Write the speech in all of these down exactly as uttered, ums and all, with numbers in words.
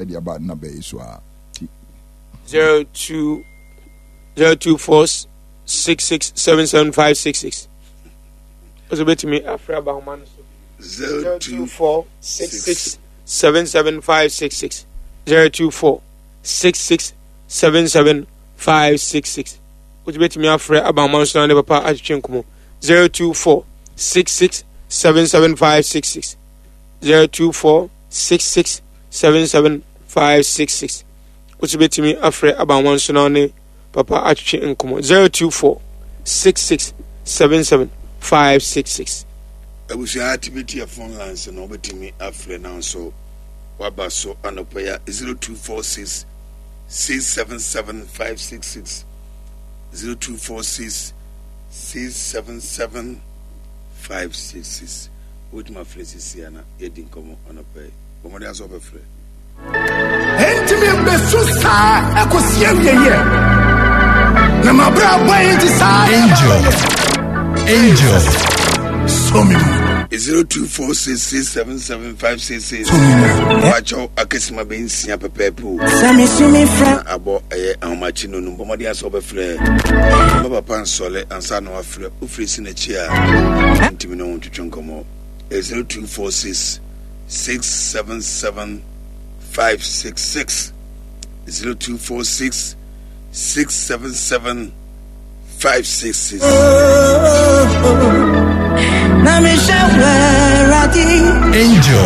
Ɛde aba na bɛyɛ so a ti. zero two zero two four six six seven seven five six six. Ɔsɛ bɛtumi afrɛ aba ahoma no so. zero two four six six seven seven five six six zero two four six six seven seven five six six. Ɔsɛ bɛtumi afrɛ aba ahoma no so na ne papa atwetwe nkɔmɔ. zero two four six six seven seven five six six zero two four six six seven seven five six six. Ɔsɛ bɛtumi afrɛ aba ahoma no so na ne papa atwetwe nkɔmɔ. zero two four six six seven seven five six six. Abusua activate yɛ phone lines no, wobɛtumi afrɛ no nso waba so anɔpa ya zero two four six six seven seven five six six zero two four six six seven seven five six six. Wobɛtumi afrɛ sisi a na yɛdi nkɔmmɔ anɔpa yi. Bɔ mmɔden asɛ wobɛfrɛ. Enti mebesu saa ɛkɔsi awieeɛ, na mabrabɔ yi nti saa. Angel. Angel. So me mu. zero two four six six seven seven five six six. So me mu. Wakyɛw akasima bɛ nsia pɛpɛɛpɛ o. Sɛ mesu me frɛ. Na abɔ ɛyɛ ahomakye no no, bɔ mmɔden asɛ wobɛfrɛ. Ma papa nsɔle ansa na wafrɛ. Wofiri si n'akyi a ntumi ne ho ntwetwe nkɔmmɔ. zero two four six six seven seven five six six zero two four six six seven seven five six six. Angel.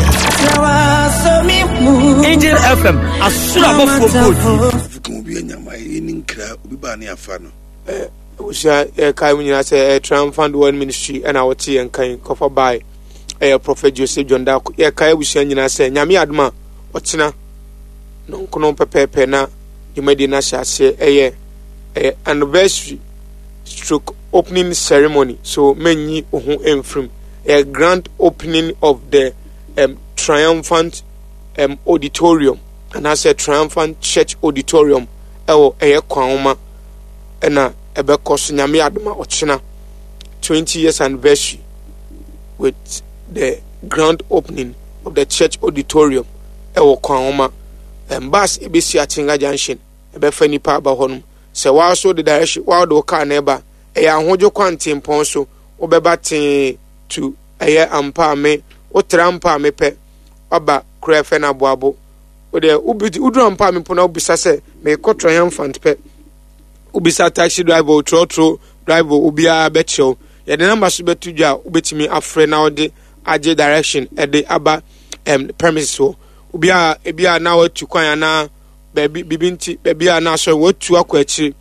Angel F M. Asura bɔfoɔ bɔɔdi. Fukun obi anyama yɛ ni nkira obi baa ne afa no. Abusua, yɛkae mu nyinaa sɛ ɛyɛ Triumphant World Ministry ɛna wɔte yɛn kan kɔfa bae ɛyɛ Prophet Joseph John Darko. Yɛkae abusua nyinaa sɛ Nyame adom a ɔkyena nonkono pɛpɛɛpɛ na dwumadie no ahyɛ aseɛ. Ɛyɛ ɛyɛ anniversary stroke opening ceremony, so menyi wo ho mfirim. Ɛyɛ grand opening of the um, triumphant um, auditorium anaasɛ Triumphant Church auditorium ɛwɔ ɛyɛ Kwanwoma ɛna ɛbɛkɔ so. Nyame adom a ɔkyena twenty years anniversary with the grand opening of the church auditorium ɛwɔ Kwanwoma. um, bus ebesi Atenga Junction, ɛbɛfa nipa aba hɔ nom. Sɛ waa so de direction waa de wo car na ɛba, ɛyɛ Ahodwo kwantempɔn so, wobɛba tee to ɛyɛ Ampaame. Wotra Ampaame pɛ, waba kura ɛfɛ no Aboabo. Wode woduru Ampaame mpo na wobisa sɛ meekɔ Triumphant pɛ, wobisa taxi driver, otrɔtro driver, obiara bɛkyerɛw. Yɛde number so bɛto dwa a wobɛtumi afrɛ na wɔde agye direction ɛde aba um, premises hɔ. Obiara ebi a na watu kwan anaa baabi bibi nti baabi a na asɔre watu akɔ akyiri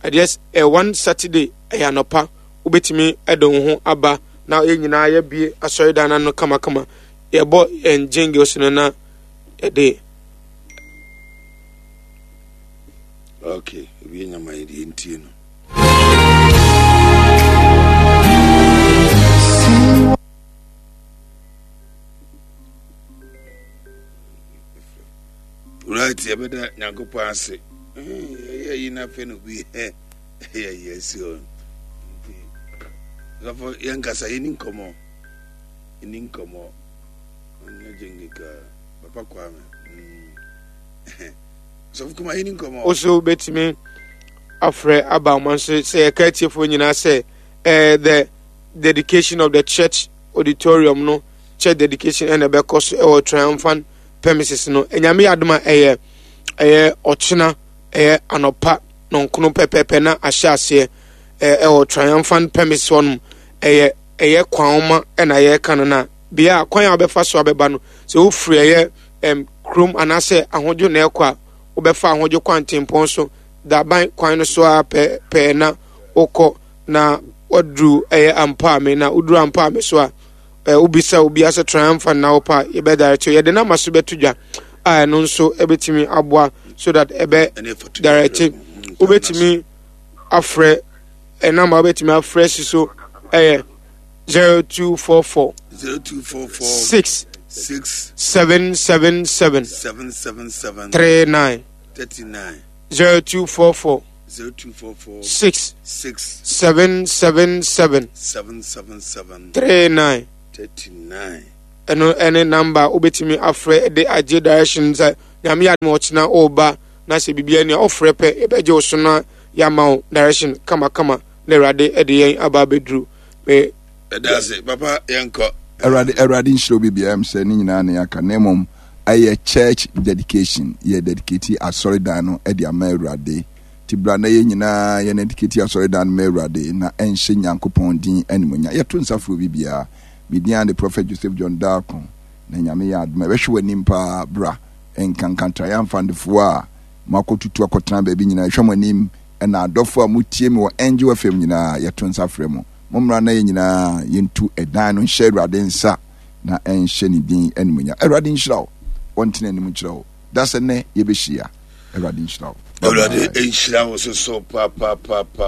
ɛdeɛ ɛ one Saturday ɛyɛ anɔpa, wobɛtumi ɛde wo ho aba na yɛn nyinaa yɛbie asɔredan no ano kamakama. Yɛbɔ yɛn jingles no na yɛde Okay, obi anyama yɛ deɛ ntie no. Right, yɛbɛda Nyankopɔn ase. Ɛyɛ yi na afei na obi ɛyɛ yi asi hɔ. Nti sɔfo, yɛnkasa, yɛni nkɔmmɔ, yɛni nkɔmmɔ. Ɔnyɛ gyengeka Papa Kwame. Mm. Sɔfo kuma, yɛni nkɔmmɔ. Wo bɛtumi afrɛ aba ɔma nso sɛ yɛka atiefoɔ nyinaa sɛ eh, the dedication of the church auditorium no, church dedication ɛna ɛbɛkɔ so ɛwɔ Triumphant premises no. Ɛnyame yɛ adom a ɛyɛ ɛyɛ ɔkyena ɛyɛ anɔpa nɔnkono pɛpɛɛpɛ na ahyɛ aseɛ ɛwɔ Triumphant premises hɔnom. Ɛyɛ ɛyɛ Kwanwoma ɛna yɛreka no na bea a kwan a wobɛfa so abɛba no, sɛ wofiri ɛyɛ ɛm kurom anaasɛ Ahodwo na ɛkɔ a, wobɛfa Ahodwo kwantempɔn so daban kwan no so a pɛɛ pɛɛ na wokɔ na waduru ɛyɛ Ampaame. Na woduru Ampaame so a, ɛ wobisa obi asɛ Triumphant na wopɛ a, yɛbɛ direct yɛde nama so bɛto dwa a ɛno nso ɛbɛtumi aboa so that ɛbɛ direct. Wobɛtumi afrɛ ɛnamba wobɛtumi afrɛ si so ɛyɛ zero two four four zero two four four six six seven seven seven seven seven seven three nine thirty nine zero two four four zero two four four six six seven seven seven seven seven seven three nine thirty nine. Ɛno ɛne number a wobɛtumi afrɛ de agye direction sɛ Nyame yɛ adom a ɔkyena ɔreba na sɛ biribiara ni a ɔfrɛ pɛ yɛbɛgye wo so na yɛama wo direction kamakama na Awurade de yɛn aba abɛduru. Me Ɛda ase papa, yɛnkɔ. Awurade Awurade nhyira obi biara m sɛ ne nyinaa ne aka na mmom ɛyɛ church dedication yɛ dedicate asɔredan no de ama Awurade ti bra na yɛn nyinaa yɛn dedicate asɔredan no ma Awurade na ɛnhyɛ Nyankopɔn din animuonyam. Yɛto nsa frɛ obi biara. Me din de Prophet Joseph John Darko na Nyame yɛ adom a ɛbɛhwɛ w'anim paa. Bra nkanka triumphantefoɔ a moakɔtutu akɔtena baabi nyinaa ɛhwɛ mo anim, ɛna adɔfo a motie me wɔ Angel F M nyinaa, yɛto nsa frɛ mo. Mommra na yɛn nyinaa yɛntu ɛdan no nhyɛ Awurade nsa na ɛnhyɛ ne din animuonyam. Awurade nhyira wo, wɔntena anim nkyerɛ wo da sɛ nnɛ yɛbɛhyia. Awurade nhyira wo. Awurade nhyira wo so so papaapapa.